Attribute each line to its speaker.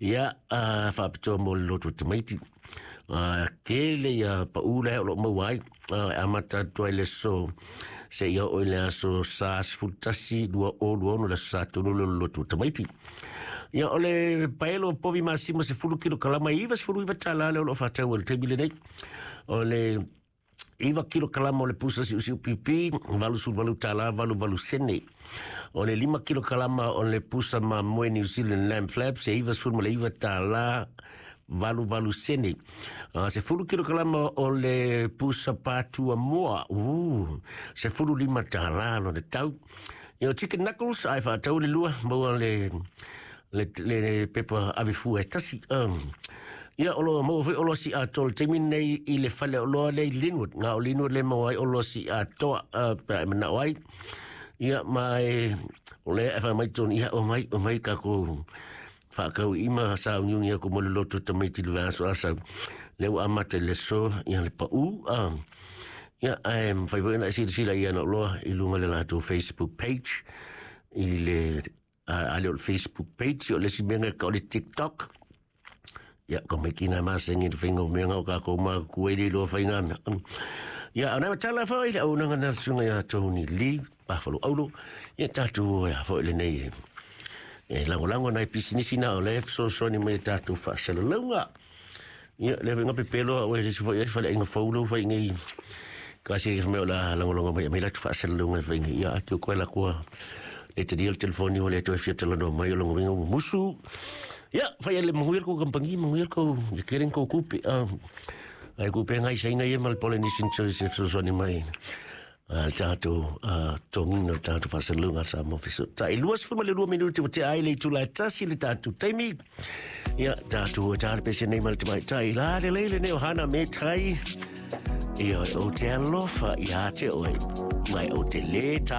Speaker 1: Ia, faapitoa mo le loto tamaiti. Tele ia paʻū la o loo maua ai, e amata atu ai le aso seia oo i le aso Sa 11 2026, le aso Sa tonu lea o le loto tamaiti. Ia, o le paelo povi masima 10 kilokalama e $99 lea o loo faatau i le taimi lenei. O le 9 kilokalama o le pusa siusiu pipi, $88 88 sene. O le 5 kilokalama o le pusa mamoe New Zealand lamb flaps, e $99 88 sene. 10 kilokalama o le pusa patua moa, $15 lona tau. Ia, o chicken knuckles, ai faatau le lua, maua le pepa ave fua e tasi. Ia, o lo maua foi oloa siatoa i le taimi nei i le fale oloa lea i Linwood. Na o Linwood le maua ai oloa siatoa, pe a e manao ai. Ia, ma e, o lea e fai mai tonu, ia, o mai kākou faakau ima sauniuni aku mo le loto tamaiti le vaiaso asau. Lea ua amata i le aso, ia le paʻū. Ia, ae mafai foi ona e silasila i ana oloa i luga le latou Facebook page i le ale o le Facebook page o le isi mea ka o le TikTok. Ia, ko mai kina masengi le whainga o mea ngau ka kou mā kua i le loa whainga mea. Ia, anai matala whai le au nanga na sunga ia Tony Lee, Buffalo Aulo. Ia, tātou ia whai le nei e lango lango nai pisinisi na o le fesoasoani mai e tātou faasalalauga. Ia, le whainga pepelo o e sisi whai e whale inga faulo whai ngai. Kasi e mea o la lango lango mai mai latu faasalalauga e whai ngai. Ia, ake o koe la kua le te le telefoni o le toe fia talanoa mai o longa winga musu. Ia, whai ele mahuia ko kampangi, mahuia ko ye keren ko kupe. Ai kupe ngai sainga ia ma le Polynesian Choice e fesoasoani mai. Le tātou tongina o tātou faasalalauga sa mo fiso. Ta i 22 minuti o te ai le itula e tasi le tātou taimi. Ia, tātou e tāre pese nei ma le tamai tai. La le leile nei o hana me tai. Ia, o te alofa i a te oe. Mai o te le tā.